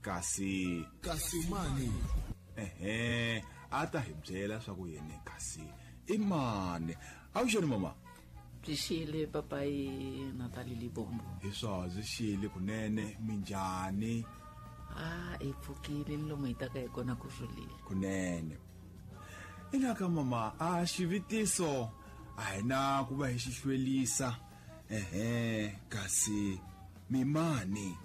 Kasi Kasimani. Ehe, a ta hi byela swa ku yene kasi i mani. Avuxeni mama. Byi xile papayi Natali Libombo. Hi swona, byi xile kunene. Minjhani? A hi pfukile ni lomu hi taka hi kona ku rhulile. Kunene. Ina ka mama, a xivitiso a hi na ku va hi xi hlwelisa. Ehe, kasi mi mani?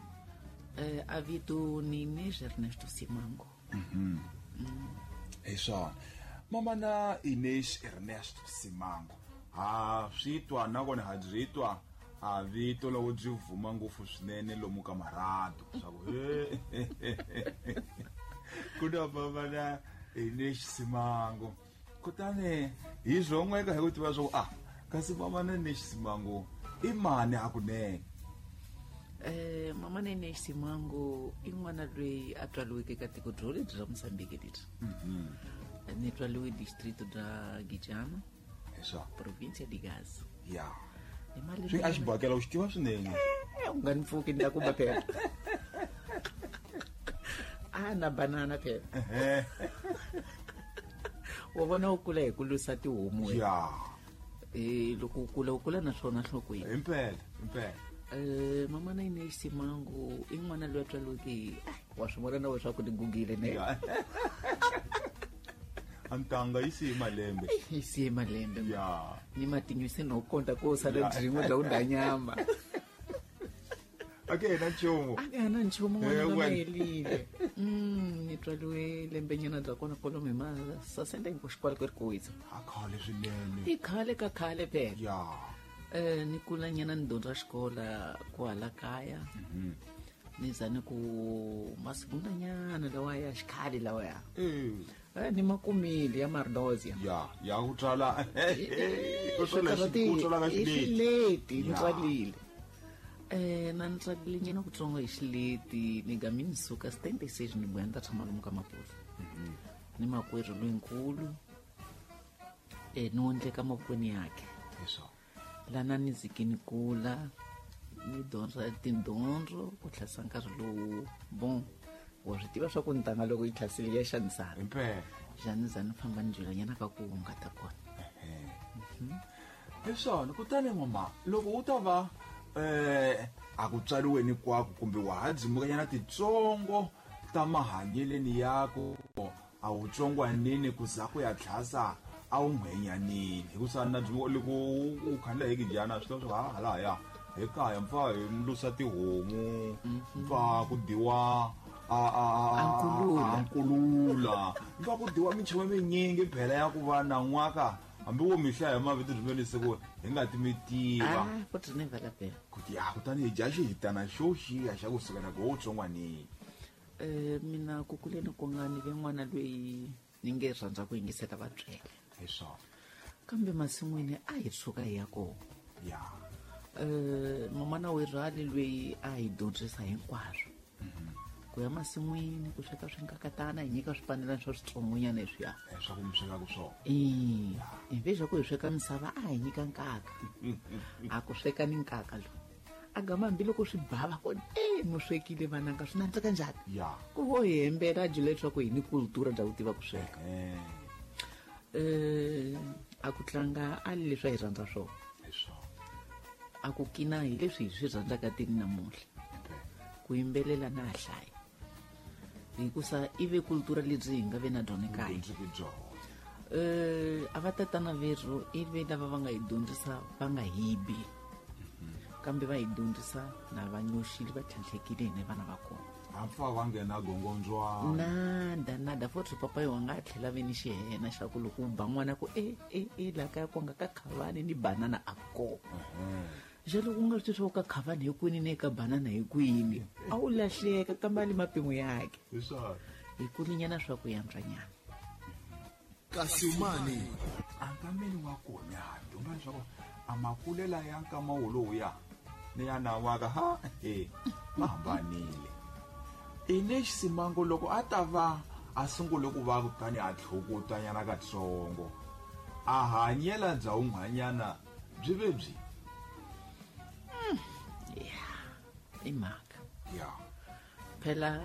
A vito ni Inês Ernesto Simango. Hi swona. Mama na Inês Ernesto Simango. Ha swi twa nakona ha byi twa a vito loko byi vuma ngopfu swinene lomu ka marhadu swa ku he ku na mama na Inês Simango. Kutani hi swon'weka hi ku tiva swa ku a kasi mama na Inês Simango i mani hakunene? Mama na Inês Simango i n'wana loyi a tswariweke ka tiko byo lebyi ra Mozambique lebyi. Ni tswariwe district bya Gijana. Hi swona. Provincia de Gaza. Ya. Hi mali Swi a xibakela u xi tiva swinene. U nga ni pfuki ni ta ku ba phela. A na banana phela. Wa vona u kula hi ku lusa tihomu wena. Ya. Loko u kula, u kula na swona nhlokweni. Impela, impela. Mama na Inês Simango i n'wana loyi a tswariweke hi, wa swi vona na wena swa ku ni gugile ne. Ya. A ntanga yi siye malembe. Yi siye malembe. Ya. Ni matinyo se no konta ko sala Ya. byin'we bya ku dya nyama. A ke na nchumu. A ke na nchumu n'wana Eh, na wena. helile. Ni tswariwe lembenyana bya kona kwalomu hi ma sasenda hinkwaswo xikwala ku ri ku wisa. A khale swinene. I khale ka khale phela. Ya. Ni kula nyana ni dyondza xikola kwala kaya. Ni za ni ku masigundanyana lawa ya xikhale lawa ya. Ni makumile ya Mardozia. Ya, ya ku tswala. Ku tswala Ku ku tswala ka i xileti. xileti, ni Ya. tswalile. Na ni tswalile nyana kutsongo hi xileti, ni gami ni suka stente stage ni vuya ni ta tshama lomu ka Maputo. Ni makwerhu loyinkulu. Ni wondleka mavokweni yakhe. Hi swona. Lana ni zike ni kula, ni dyondza tidyondzo ku tlhasa nkarhi lowu. Bon, wa swi tiva swa ku ntanga loko yi tlhasile ya xanisana. Impela. Njhani za ni famba ni byelanyana ka ku hungata kona. Hi swona, kutani mama, loko u ta va a ku tswariweni kwako kumbe wa ha dzimukanyana titsongo ta mahanyeleni yako, a wu tsongwanini ku za ku ya tlhasa a wu nghwenyanini. Hikusa na byi loko u khandla hi kijana swi tiva swa ha halahaya hi kaya mpfa hi lusa tihomu, mpfa ku dyiwa A nkulula. a nkulula. Mpfa ku dyiwa minchumu minyingi phela ya ku va na n'waka hambi wo mi hlaya hi mavito byi se ku hi nga ti mi tiva. Ah, futhi ni vala phela. Kuti ya kutani hi dya xihitana xo xiya xa kusuka na ku wo tsongwanini. Mina ku kuleni ku nga ni ve n'wana loyi ni nge rhandza ku yingisela vatswele. Hi swona. Kambe masin'wini a hi tshuka hi ya kona. Ya. Mama na werhali loyi a hi dyondzisa hinkwaswo. Ku ya masin'wini, ku sweka swinkakatana, hi nyika swipanelana swa switsongonyana leswiya. Swa ku mi swekaka swona. Hi ve swa ku hi sweka misava a hi nyika nkaka. A ku sweka ni nkaka lowu. A gama hambiloko swi bava kona, mu swekile vananga, swi nandzika njhani? Ya. Ku vo hi hembela a byela leswaku hi ni kultura bya ku tiva ku sweka. A ku tlanga a li leswi a hi rhandza swona. Hi swona. A ku kina hi leswi hi swi rhandzaka tini namuntlha. Ku yimbelela na hlaya. Hikusa i ve kultura lebyi hi nga ve na byona ekaya. Dyondziki byona. A va tatana verhu i ve lava va nga hi dyondzisa va nga hibi. Kambe va hi dyondzisa na va nyoxile va tlhantlhekile hina vana va kona. A pfa va nghena gongondzwana. Nada, nada. Futhi papa yo nga tlhela ve ni xihena xa ku loko u ba n'wana ku e, e, e, laha kaya ku nga ka khavani ni banana a kona. Jalo ku nga swi tivi swa ku ka khavani hi kwini ni ka banana hi kwini. A wu lahleka kambe a li mapimo yakhe. Hi swona. Hi kulinyana swa ku yantswanyana. Kasi mani. A nkameni wa kona ha dyondza leswaku a makulela ya nkama wolowuya ni ya nawaka ha he ma hambanile. Inês Simango loko a ta va a sungule ku va kutani a tlhokotanyana katsongo, a hanyela bya wun'wanyana byi ve byi. Ya, i mhaka. Ya. Phela